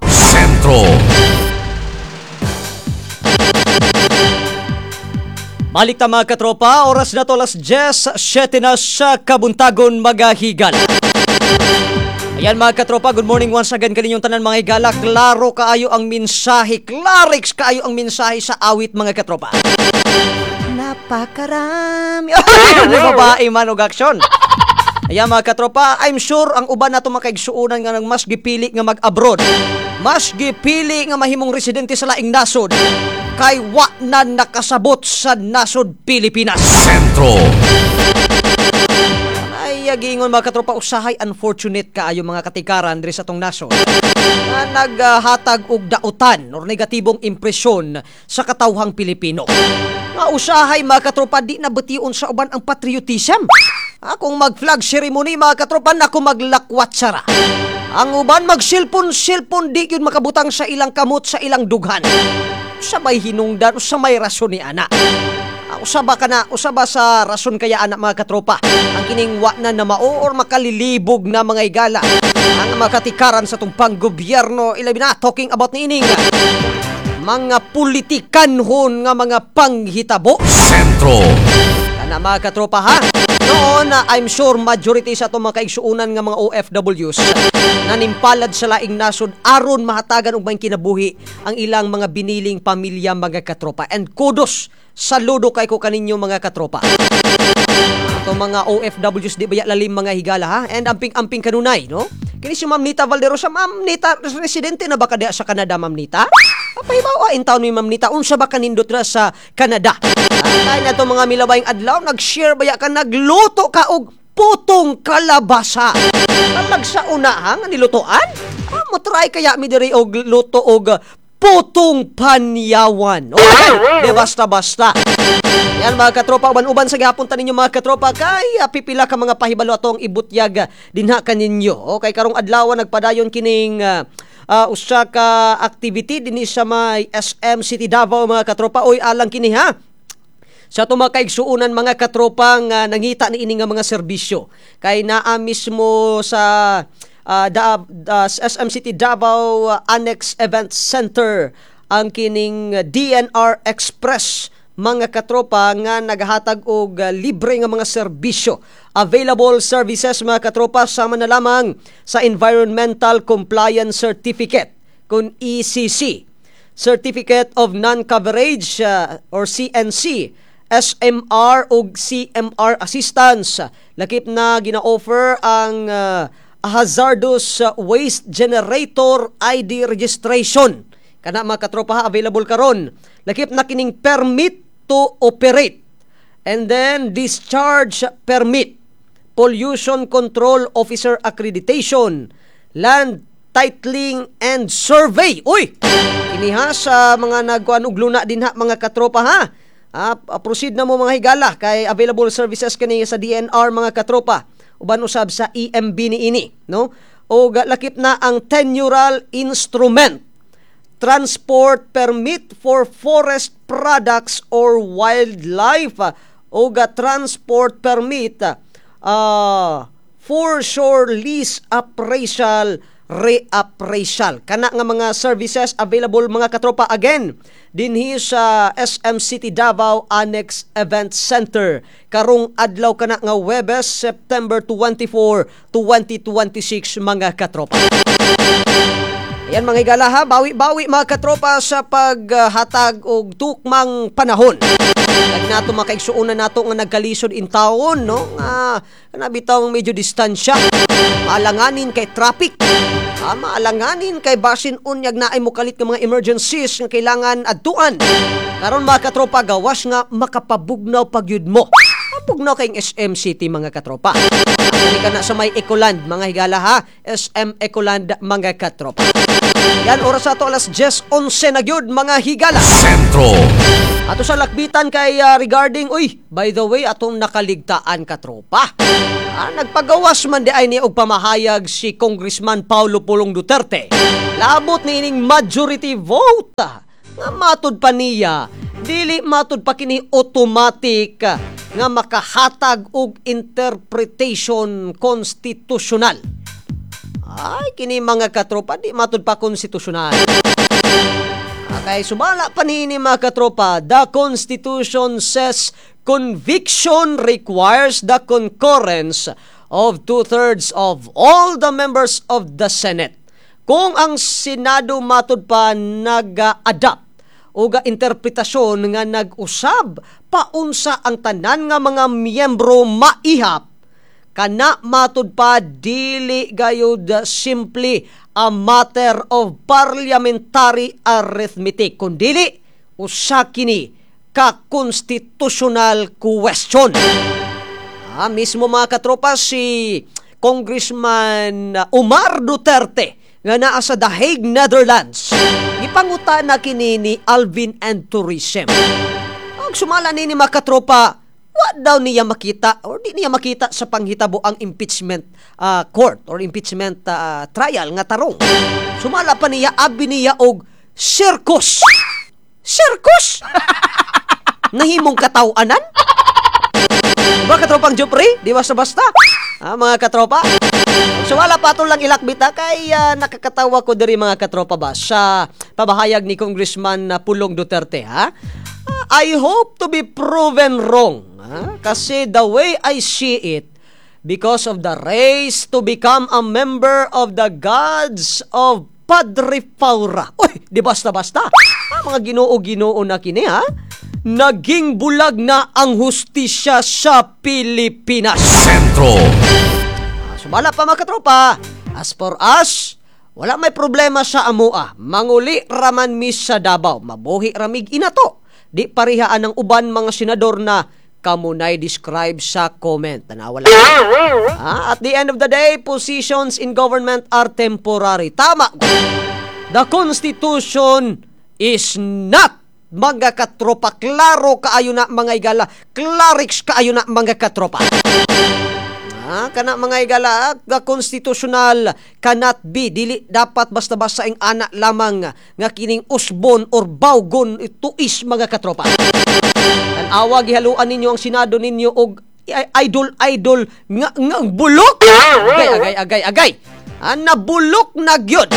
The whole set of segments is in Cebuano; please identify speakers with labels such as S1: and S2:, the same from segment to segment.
S1: Sentro.
S2: Balik ta, mga katropa, oras na to alas 10:07 na sa kabuntagon, mga higala. Ayan, mga katropa, good morning once again kaninyong tanan, mga higala. Klaro kaayo ang mensahe, klarix kaayo ang mensahe sa awit, mga katropa. Napakarami. Ay, babae man og aksyon. Ayan, mga katropa, I'm sure ang uban nato mga kaigsuonan nga nang mas gipili nga mag-abroad, mas gipili nga mahimong residente sa laing nasod, kay wa na nakasabot sa nasod Pilipinas.
S1: Sentro.
S2: Ay, giingon, mga katropa, usahay unfortunate kaayo mga katikaran diri sa atong nasod nga naghatag og dautan or negatibong impresyon sa katawhang Pilipino. Nga usahay, mga katropa, di na bation sa uban ang patriotism. Kung mag-flag ceremony, mga katropa, naku, maglakwat sara. Ang uban mag-cellphone-cellphone, di yun makabutang sa ilang kamot sa ilang dughan. Sa may hinungdan, sa may rason ni ana. Usa ba kana, usa ba sa rason kaya ana, mga katropa, ang kining wa na namao or makalilibog na, mga higala, ang mga katikaran sa tumpang gobyerno, ilabi na talking about niining mga politikanhon nga mga panghitabo?
S1: Sentro.
S2: Kana, mga katropa, ha. Noon, I'm sure majority sa atong mga kaigsuonan nga mga OFWs nanimpalad sa laing nasod aron mahatagan og may kinabuhi ang ilang mga biniling pamilya, mga katropa. And kudos, saludo kay ko kaninyo, mga katropa. Ato mga OFWs, di baya lalim, mga higala, ha? And amping-amping kanunay, no? Kini si Ma'am Nita Valderosa. Ma'am Nita, residente na ba ka diha sa Canada, Ma'am Nita? Papahibaw in taon ni Ma'am Nita, unsa ba kanindot ra sa Canada? Tayo na mga milabayng adlaw, nag-share baya ka, nagluto ka og putong kalabasa. Talag sa una ha, nga nilutoan? Mo try kaya mi diri og luto og putong panyawan. Okay, di basta-basta. Yan, mga katropa, uban-uban sa gihapon ta ninyo, mga katropa, kay pipila ka mga pahibalo atong ibutyag dinha kaninyo. Okay, karong adlaw nagpadayon kining usa ka activity dinhi sa may SM City Davao, mga katropa. Oy, alang kini ha sa atong mga kaigsuonan, mga katropa, nga nangita ni ini nga mga serbisyo kay naa mismo sa SM City Davao Annex Event Center ang kining DNR Express, mga katropa, nga naghatag og libre nga mga serbisyo. Available services, mga katropa, sama na lamang sa Environmental Compliance Certificate kung ECC, Certificate of Non-Coverage or CNC, SMR ug CMR assistance. Lakip na gina-offer ang hazardous waste generator ID registration. Kana, mga katropa ha, available karon. Lakip na kining permit to operate and then discharge permit, pollution control officer accreditation, land titling and survey. Uy! Kini ha sa mga nagkuan og luna din ha, mga katropa, ha. Proceed na mo, mga higala, kay available services kani sa DNR, mga katropa. Uban usab sa EMB ni ini, no? O lakip na ang tenurial instrument, transport permit for forest products or wildlife o transport permit foreshore lease appraisal, reappraisal. Kana nga mga services available, mga katropa, again dinhi sa SM City Davao Annex Event Center karong adlaw kana nga Webes, September 24, 2026, mga katropa. Ayan, mga higala ha, bawi-bawi, mga katropa, sa paghatag og tukmang panahon. Kag nato mga kaigsuonan nato nga nagkalisod in taon, no? Nga kana bitaw medyo distansya. Maalanganin kay traffic. Maalanganin kay basin unyag naay mokalit nga mga emergencies nga kailangan adtuan. Karon, mga katropa, gawas nga makapabugnaw pagyud mo. Mapugnaw kayong SM City, mga katropa. Dali ka na sa may Ecoland, mga higala ha. SM Ecoland, mga katropa. Yan, oras ato alas 10:11 na gyud, mga higala.
S1: Sentro.
S2: Ato sa lakbitan kay regarding, uy, by the way, atong nakaligtaan, katropa. Nagpagawas man di ay ni og pamahayag si Congressman Paulo Pulong Duterte. Labot ni ining majority vote. Nga matud pa niya, dili matud pa kini automatic nga makahatag og interpretation constitutional. Ay, kini, mga katropa, di matud pa konstitusyonal. Okay, sumala pa niini, mga katropa, the Constitution says conviction requires the concurrence of two-thirds of all the members of the Senate. Kung ang Senado matud pa nag-adapt o ga interpretasyon nga nag-usab paunsa ang tanan nga mga miyembro maihap, kana matud pa dili gayud simply a matter of parliamentary arithmetic, kundili usa kini ka constitutional question. Mismo, mga katropa, si Congressman Omar Duterte nga naa sa The Hague, Netherlands, gipanguta na kini ni Alvin and Tourism. Ang sumala nini, mga katropa, wa daw niya makita or di niya makita sa panghitabo ang impeachment court or impeachment trial nga tarong. Sumala pa niya, abi niya og circus. Circus? Nahimong katawanan? Diba, katropang Jupri? Di basta-basta. Ah, mga katropa. So wala pa ato lang ilakbita kay nakakatawa ko diri, mga katropa ba, sa pabahayag ni Congressman Pulong Duterte, ha. I hope to be proven wrong. Ha? Kasi the way I see it, because of the race to become a member of the gods of Padre Faura. Uy, di basta-basta. Ah, mga ginoo-ginoo na kini, ha. Naging bulag na ang hustisya sa Pilipinas.
S1: Sentro.
S2: Sumala pa, mga katropa, as for us, wala may problema sa amua. Manguli raman mi sa Davao. Mabuhi ramig inato. Di parihaan ng uban mga senador na kamunay describe sa comment. Tanawa lang. At the end of the day, positions in government are temporary. Tama. The Constitution is not, mga katropa. Klaro kaayo na, mga igala. Clarix kaayo na, mga katropa. Kana, mga igala, the constitutional cannot be, dili dapat basta-basta ang ana lamang nga kining usbon or bawgon tuis, mga katropa. Tan-awa, gihaluan ninyo ang Senado ninyo og idol idol nga bulok. Agay, agay, agay, agay. Nabulok na gyud.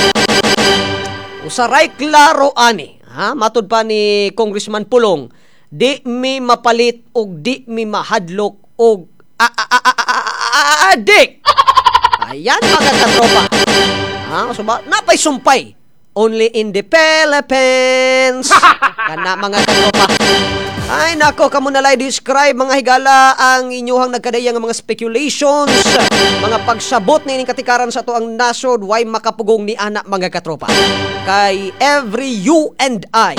S2: Usaray klaro ani. Ha, matud pa ni Congressman Pulong, di mi mapalit og di mi mahadlok og adik. Ayan, mga katropa. Ha, so ba, napay sumpay. Only in the Philippines. Kana, mga katropa. Ay nako, kamo na lay describe, mga higala, ang inyuhang nagkadaya nga mga speculations, mga pagsabot ni ining katikaran sa atoang nasod, way makapugong ni ana, mga katropa. Kay every you and I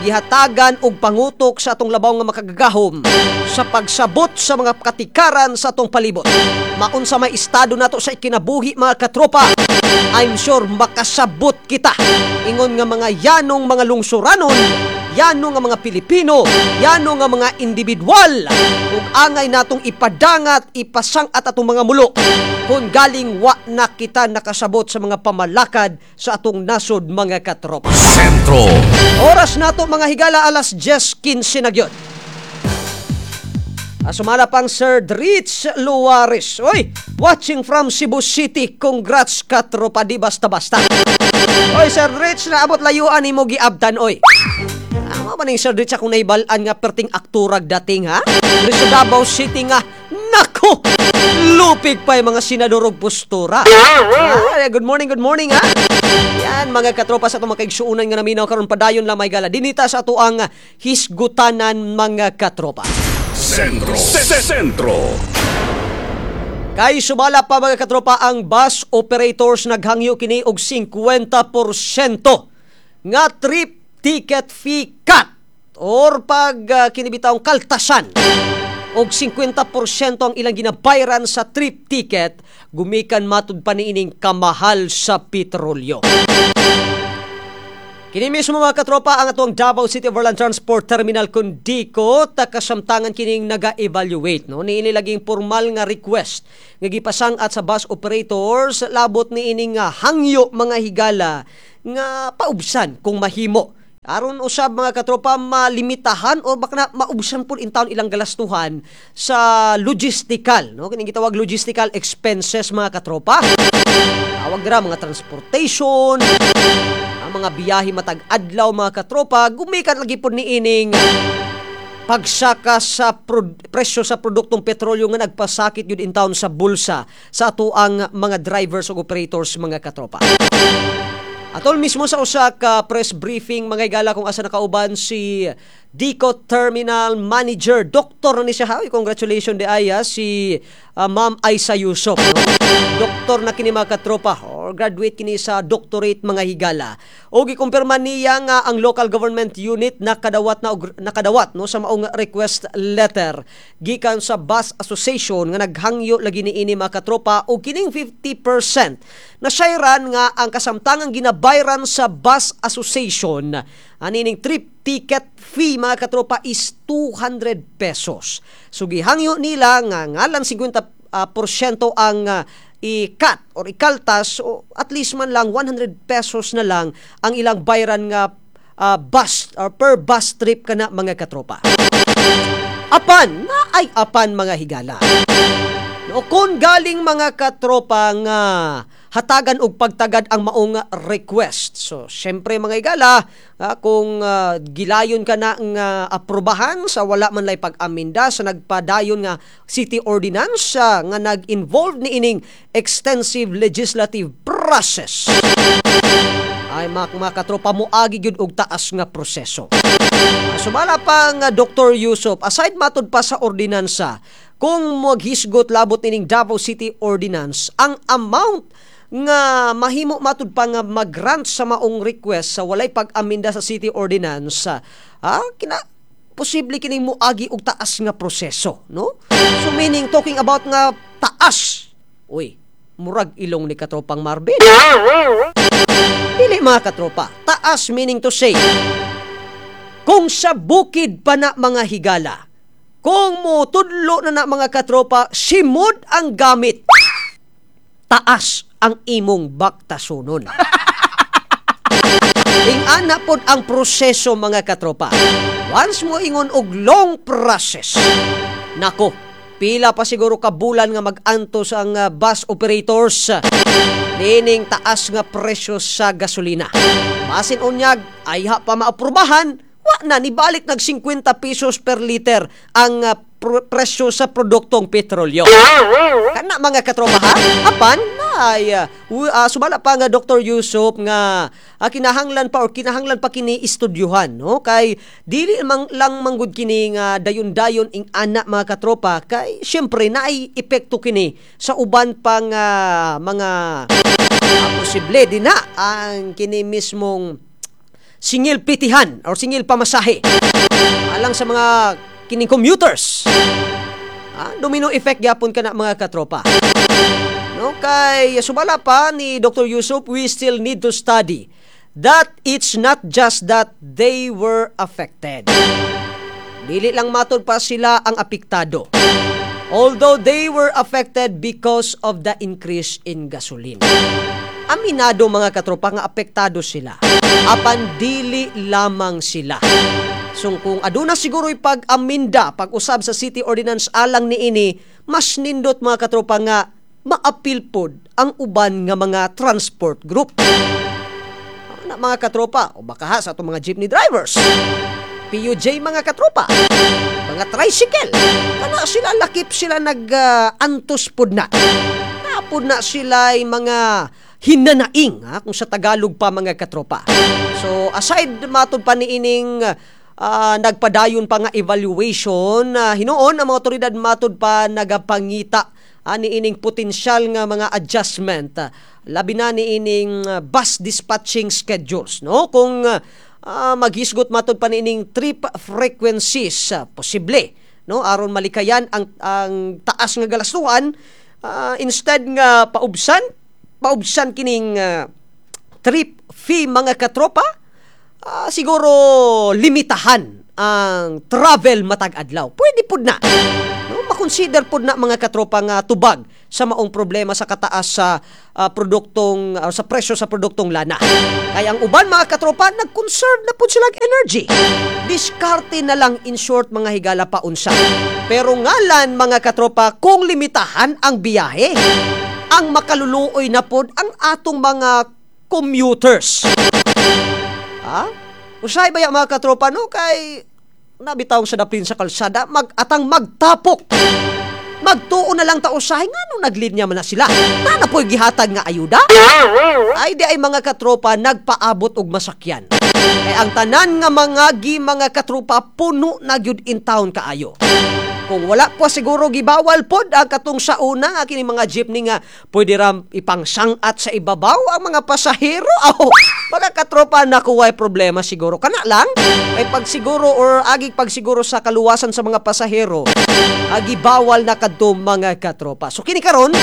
S2: gihatagan og pangutok sa atong labaw nga makagagahom sa pagsabot sa mga katikaran sa atong palibot. Maunsa may estado nato sa ikinabuhi, mga katropa, I'm sure makasabot kita. Ingon nga mga yanong mga lungsuranon, yano nga mga Pilipino, yano nga mga individual, ug angay natong ipadangat, ipasang-at atong mga mulo kung galing wa na kita nakasabot sa mga pamalakad sa atong nasod, mga katropa.
S1: Sentro.
S2: Oras nato, mga higala, alas 10:15 na gyud. Sumala pang Sir Dritz Luares. Oy, watching from Cebu City. Congrats, katropa, di basta-basta. Oy, Sir Dritz, naabot layuan nimo giabtan, oy. Mao ba ning Sir Dritz akong nahibalan nga perting akturag dating, ha? Diri sa Davao City nga, nako! Lupig pa yung mga senador og postura. Good morning, good morning, ha? Yan, mga katropa, sa atong mga kaigsuonan nga naminaw karon, padayon lamay gala. Dinita sa ato ang hisgutanan, mga katropa.
S1: Sentro. Sentro.
S2: Kay sumala pa, mga katropa, ang bus operators naghangyo kini og 50% nga trip ticket fee cut or pag kinibitawng kaltasan og 50% ang ilang ginabayran sa trip ticket gumikan matud pa niining kamahal sa petrolyo. Kini mismo, mga katropa, ang atong Davao City Overland Transport Terminal Kundiko takasamtangan kining naga-evaluate, no, niini laging formal nga request nga gipasang-at sa bus operators labot niini nga hangyo, mga higala, nga paubsan kung mahimo aron usab, mga katropa, malimitahan o baka na maubsan pud in town ilang galastuhan sa logistical, no, kining gitawag logistical expenses, mga katropa. Tawag dira mga transportation, ang mga biyahe matag adlaw, mga katropa, gumikan lagi pod niining pagsaka sa presyo sa produktong petrolyo nga nagpasakit yun in town sa bulsa sa atoang mga drivers ug operators, mga katropa. Atol mismo sa usa ka press briefing, mga higala, kung asa nakauban si Dico Terminal Manager, doktor na ni siya ha. Uy, congratulations diay si Ma'am Aisa Yusuf, no? Doktor na kini, mga katropa, or graduate kini sa doctorate, mga higala. O gikumpirma niya nga ang local government unit nakadawat na nakadawat, no, sa maong request letter gikan sa Bus Association nga naghangyo lagi niini, mga katropa, og kining 50% na sayran nga ang kasamtangang ginabayran sa Bus Association anining trip ticket fee, mga katropa, is 200 pesos. So gihangyo nila nga ngalan 50 porsyento ang i-cut or ikaltas o at least man lang 100 pesos na lang ang ilang bayran nga bus or per bus trip kana, mga katropa. Apan, na ay apan, mga higala. No, kung galing, mga katropa, nga hatagan og pagtagad ang maong request. So, syempre, mga higala, kung gilayon ka na nga aprobahan sa wala man lay pag-aminda sa nagpadayon nga city ordinance nga nag-involve niining extensive legislative process, ay mga katropa, moagi gyud og taas nga proseso. Sumala pa nga Dr. Yusuf, aside matud pa sa ordinansa, kung maghisgot labot nining Davao City Ordinance, ang amount nga mahimo matud pa nga mag-grant sa maong request sa walay pag-aminda sa city ordinance, kina posible kining moagi og taas nga proseso, no? So meaning, talking about nga taas, uy, murag ilong ni katropang Marvin. Dili, mga katropa, taas meaning to say, kung sa bukid pa na, mga higala, kung mo tudlo na na, mga katropa, simod ang gamit, taas ang imong baktasunon. Ingana pod ang proseso, mga katropa. Once mo ingon og long process, nako, pila pa siguro ka bulan nga mag-antos ang bus operators nining taas nga presyo sa gasolina. Basin unyag ayha pa maaprubahan, wa na nibalik nag 50 pesos per liter ang presyo sa produktong petrolyo. Kana, mga katropa, ha? Apan ay sumala pa nga Dr. Yusuf nga kinahanglan pa or kinahanglan pa kini istudyuhan, no, kay dili mang lang manggod kini nga dayon-dayon ing ana, mga katropa, kay syempre naay epekto kini sa uban pang mga posible din na ang kini mismong singil pitihan or singil pamasahe alang sa mga kining commuters. Domino effect gyapon kana, mga katropa. No, kay sumala pa ni Dr. Yusuf, we still need to study that it's not just that they were affected. Dili lang matud pa sila ang apektado. Although they were affected because of the increase in gasoline. Aminado, mga katropa, nga apektado sila. Apan dili lamang sila. So kung aduna siguro'y pag-aminda, pag-usab sa city ordinance alang niini, mas nindot, mga katropa, nga maapil pod ang uban nga mga transport group. Na mga katropa, o baka ha sa atong mga jeepney drivers, PUJ, mga katropa, mga tricycle, kana sila lakip sila nag-antos pod na. Napod na sila ay mga hinanaing ha, kung sa Tagalog pa, mga katropa. So aside matud pa niining nagpadayon pa nga evaluation, hinuon ang mga otoridad matud pa nagapangita niining potensyal nga mga adjustment, labi na niining bus dispatching schedules, no, kung maghisgot matud pa niining trip frequencies, posible, no, aron malikayan ang taas nga galastuan, instead nga paubsan paubsan kining trip fee, mga katropa, siguro limitahan ang travel matag adlaw, pwede pud na, no, makonsider pud na, mga katropa, nga tubag sa maong problema sa kataas sa produktong sa presyo sa produktong lana. Kay ang uban, mga katropa, nag-conserve na pud sila og energy. Diskarte na lang in short, mga higala, paunsa. Pero ngalan, mga katropa, kung limitahan ang biyahe, Ang makaluluoy na pod ang atong mga commuters. Ha? Usahay ba ya, mga katropa, no? Kay nabitaw sa daplin sa kalsada, mag-atang magtapok. Magtuo na lang ta usahay nga nung naglinya man na sila. Na na po'y gihatag nga ayuda? Ay di ay, mga katropa, nagpaabot og masakyan. Kay ang tanan nga mga gi, mga katropa, puno na gyud in town kaayo. Kung wala po siguro gibawal pod ang katong sa una nga kini mga jeepney nga pwede ram ipangsang-at sa ibabaw ang mga pasahero. Aw, mga katropa, nakuway problema siguro. Kana lang kay pagsiguro or agi pagsiguro sa kaluwasan sa mga pasahero, agi bawal na kadto, mga katropa. So kini karon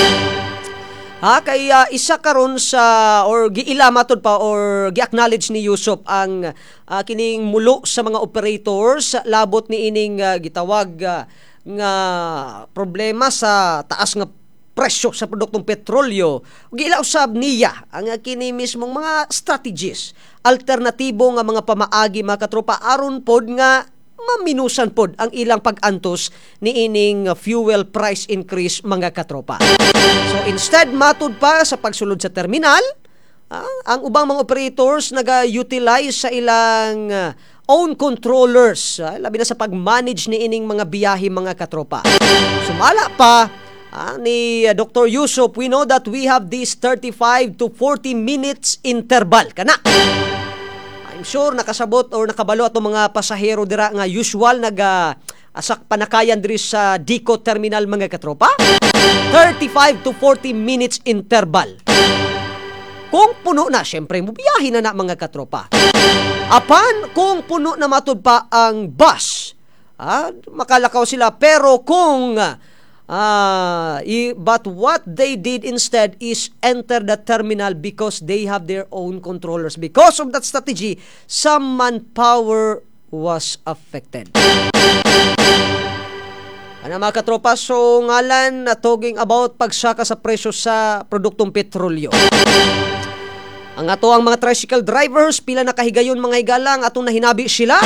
S2: ha, kay isa karon sa or giila matud pa or gi-acknowledge ni Yusop ang kining mulo sa mga operators labot ni ining gitawag nga problema sa taas nga presyo sa produktong petrolyo. Giila usab niya ang kini mismong mga strategies, alternatibo nga mga pamaagi, mga katropa, aron pod nga maminusan pod ang ilang pag-antos ni ining fuel price increase, mga katropa. So instead matud pa sa pagsulod sa terminal, ang ubang mga operators naga-utilize sa ilang own controllers, labi na sa pag-manage ni ining mga biyahe, mga katropa. Sumala pa ni Dr. Yusop, we know that we have this 35 to 40 minutes interval kana. I'm sure nakasabot or nakabalo atong mga pasahero dira nga usual naga asak panakayan diri sa Dico Terminal, mga katropa. 35 to 40 minutes interval. Kung puno na, syempre mubiyahe na na, mga katropa. Apan kung puno na matud pa ang bus, makalakaw sila, pero kung but what they did instead is enter the terminal because they have their own controllers. Because of that strategy, some manpower was affected. Ano, mga katropa, so ngalan na talking about pagsaka sa presyo sa produktong petrolyo. Ang ato ang mga tricycle drivers, pila na kahigayon, mga higalang, atong nahinabi sila,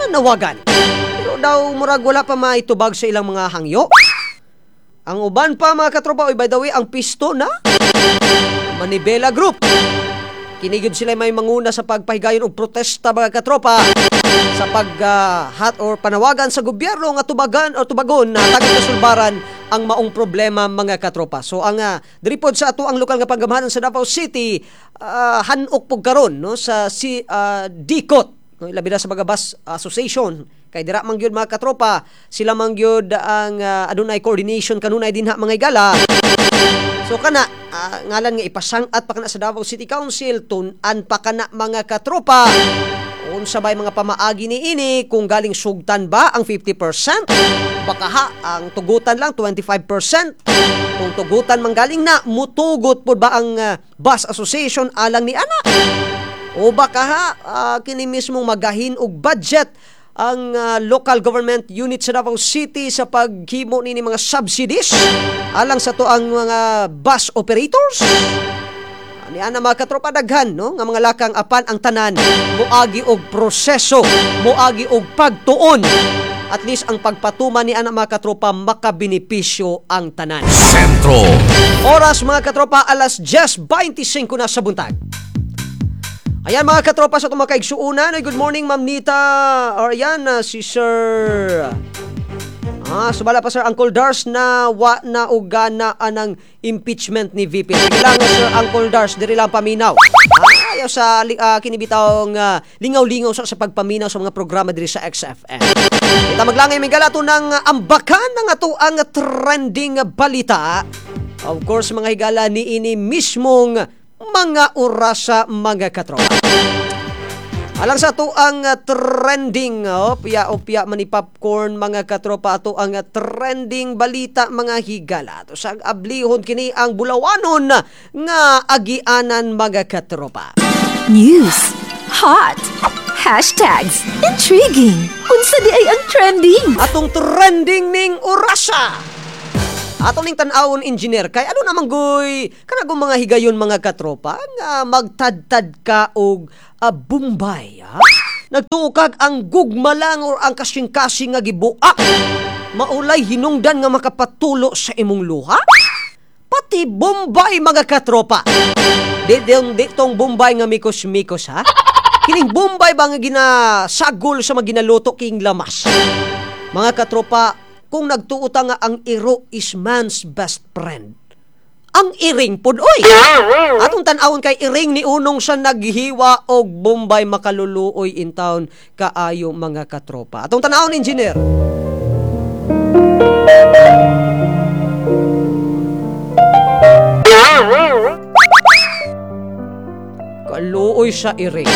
S2: nanawagan. Pero daw murag wala pa maitubag sa ilang mga hangyo. Ang uban pa, mga katropa, oy, by the way, ang pisto na Manibela Group. Kini gyud sila may manguna sa pagpahigayon og protesta, mga katropa, sa pag hat or panawagan sa gobyerno nga tubagan o tubagon na tagad kasulbaran ang maong problema, mga katropa. So ang diri pod sa ato ang lokal nga panggamhanan sa Davao City, hanok pug karon, no, sa si DICOT, no, labi na sa mga bus association kay dira man gyud, mga katropa, sila man gyud ang adunay coordination kanunay dinha, mga higala. So kana ngalan nga ipasang-at pa kana sa Davao City Council, tun-an pa kana, mga katropa. Unsa bay mga pamaagi ni ini, kung galing sugtan ba ang 50%, baka ha ang tugutan lang 25%? Kung tugutan man galing na, mutugot pod ba ang bus association alang ni ana? O baka ha kini mismong magahin og budget ang local government unit sa Davao City sa paghimo nini mga subsidies alang sa to ang mga bus operators? Ani ana, mga katropa, daghan, no, nga mga lakang, apan ang tanan moagi og proseso, moagi og pagtuon. At least ang pagpatuman ni ana, mga katropa, makabenepisyo ang tanan.
S1: Sentro.
S2: Oras, mga katropa, alas 10:25 na sa buntag. Ayan, mga katropa, sa itong mga kaigsuunan. Ay, good morning, Ma'am Nita. Or ayan, si Sir. Sumala pa, Sir Uncle Dars, na wa na ugana anang impeachment ni VP. Sige lang, Sir Uncle Dars, diri lang paminaw. Ayaw sa kinibitawng lingaw-lingaw sa pagpaminaw sa mga programa diri sa XFM. Kita maglangay may galato ng ambakan ng ato ang trending balita. Of course, mga higala, ni ini mismong mga orasa, mga katropa. Alang sa ato ang trending, oh, opya opya mani popcorn, mga katropa, ato ang trending balita, mga higala. Ato sa ablihon kini ang bulawanon nga agianan, mga katropa.
S3: News. Hot. Hashtags. Intriguing. Unsa di ay ang trending?
S2: Atong trending ning orasa. Atong ning tan-awon, engineer, kay ano naman goy kanagong mga higayon, mga katropa, nga magtadtad ka og Bombay, ha? Nagtuo kag ang gugma lang or ang kasing-kasing nga gibuak maulay hinungdan nga makapatulo sa imong luha. Pati Bombay, mga katropa. Di tong Bombay nga mikos-mikos ha. Kining Bombay ba nga ginasagol sa mga ginaluto king lamas. Mga katropa, kung nagtuo ta nga ang iro is man's best friend, ang iring pud oy. Atong tan-awon kay iring ni unong sa naghiwa og Bombay, makaluluoy in town kaayo, mga katropa. Atong tan-awon, engineer. Kaluoy sa iring.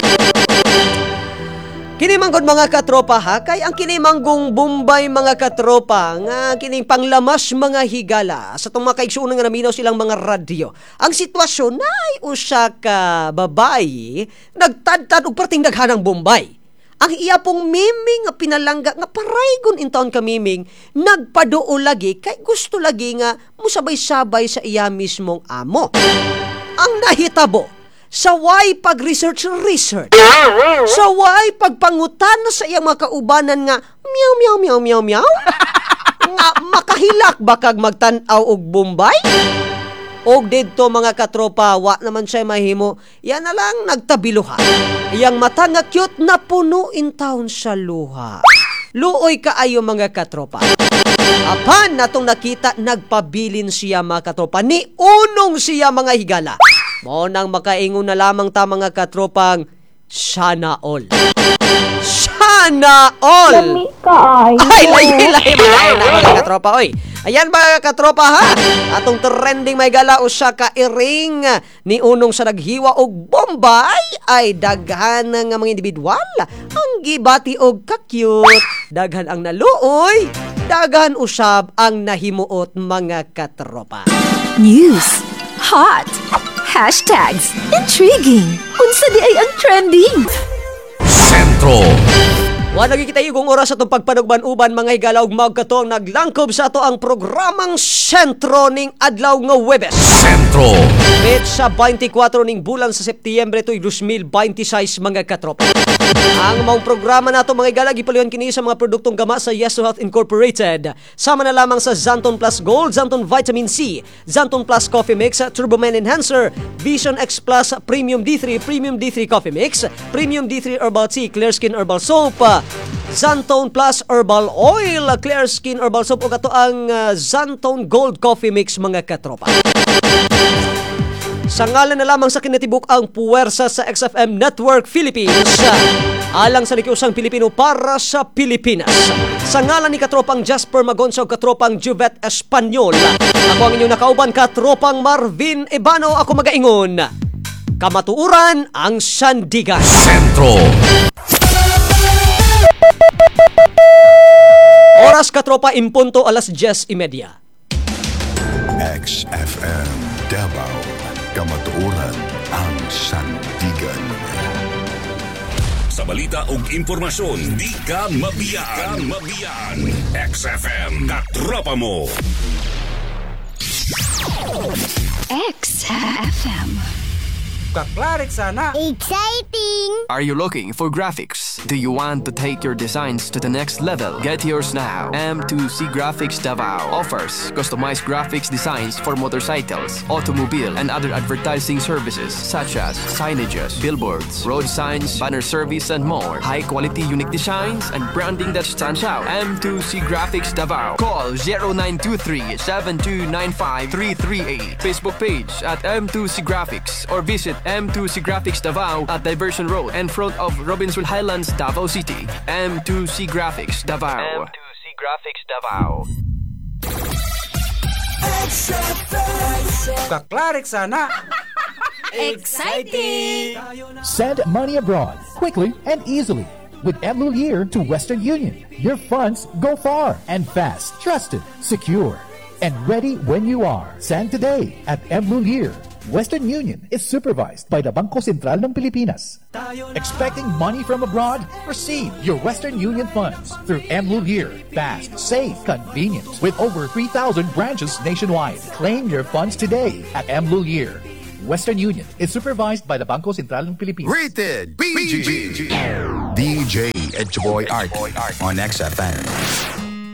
S2: Kini manggod, mga katropa ha, kay ang kini manggong Bombay, mga katropa, nga kining panglamas, mga higala, sa tong mga kaigsuonan nga naminaw silang mga radyo. Ang sitwasyon na ay usa ka babayi nagtadtad og perting daghanang Bombay. Ang iya pong miming nga pinalangga nga paraygon in town ka miming, nagpaduo lagi kay gusto lagi nga musabay-sabay sa iya mismong amo. Ang nahitabo, saway pag-research research, saway pagpangutan sa iyang mga kaubanan nga meow meow meow meow meow nga makahilak ba kag magtan-aw og Bombay? Og didto, mga katropa, wa naman siya mahimo. Yan na lang nagtabiluha. Iyang mata nga cute na puno in town sa luha. Luoy kaayo, mga katropa. Apan natong nakita, nagpabilin siya, mga katropa. Ni unong siya, mga higala. Mao nang makaingon na lamang ta, mga katropang, sana all. Sana all! Ay, lahi, lahi, mga mga katropa, oy. Ayan, mga katropa ha. Atong trending may gala, usa ka iring ni unong sa naghiwa og Bombay ay daghan nga mga individual ang gibati og ka-cute. Daghan ang naluoy, daghan usab ang nahimuot, mga katropa.
S3: News. Hot. Hashtags. Intriguing. Unsa di ay ang trending?
S1: Sentro.
S2: Wa lagi kita igong oras atong pagpanugban-uban, mga higala, ug mao kato ang naglangkob sa ato ang programang Sentro ning adlaw nga Webes.
S1: Sentro.
S2: Petsa 24 ning bulan sa Setyembre tuig 2026, mga katropa. Ang maong programa nato, mga higala, gipaluyan kini sa mga produktong gama sa Yes to Health Incorporated. Sama na lamang sa Xanthone Plus Gold, Xanthone Vitamin C, Xanthone Plus Coffee Mix, Turbo Man Enhancer, Vision X Plus Premium D3, Premium D3 Coffee Mix, Premium D3 Herbal Tea, Clear Skin Herbal Soap, Xanthone Plus Herbal Oil, Clear Skin Herbal Soap ug ato ang Xanthone Gold Coffee Mix, mga katropa. Sa ngalan na lamang sa kinatibuk ang puwersa sa XFM Network Philippines, alang sa nikiusang Pilipino para sa Pilipinas. Sa ngalan ni katropang Jasper Magonza ug katropang Juvet Espanyol, ako ang inyong nakauban, katropang Marvin Ebano, ako magaingon. Kamatuuran ang sandigan.
S1: Sentro.
S2: Oras, katropa, impunto alas 10:30.
S4: XFM Davao. Kamatuoran ang sandigan.
S1: Sa balita ug impormasyon, di ka mabiyaan. Mabiyaan. XFM, katropa mo.
S3: XFM.
S5: Kaklarik sana.
S6: Exciting!
S7: Are you looking for graphics? Do you want to take your designs to the next level? Get yours now. M2C Graphics Davao offers customized graphics designs for motorcycles, automobile, and other advertising services such as signages, billboards, road signs, banner service, and more. High quality, unique designs and branding that stands out. M2C Graphics Davao. Call 0923 7295 338. Facebook page at M2C Graphics or visit M2C Graphics Davao at Diversion Road in front of Robinson Highlands, Davao City. M2C Graphics Davao. M2C Graphics Davao.
S5: Kaklarik sana.
S3: Exciting!
S8: Send money abroad quickly and easily with M Lhuillier to Western Union. Your funds go far and fast, trusted, secure, and ready when you are. Send today at M Lhuillier. Western Union is supervised by the Bangko Sentral ng Pilipinas. Expecting money from abroad? Receive your Western Union funds through M Lhuillier. Fast, safe, convenient, with over 3,000 branches nationwide. Claim your funds today at M Lhuillier. Western Union is supervised by the Bangko Sentral ng Pilipinas.
S4: Rated PG. DJ Edgeboy Art on XFM.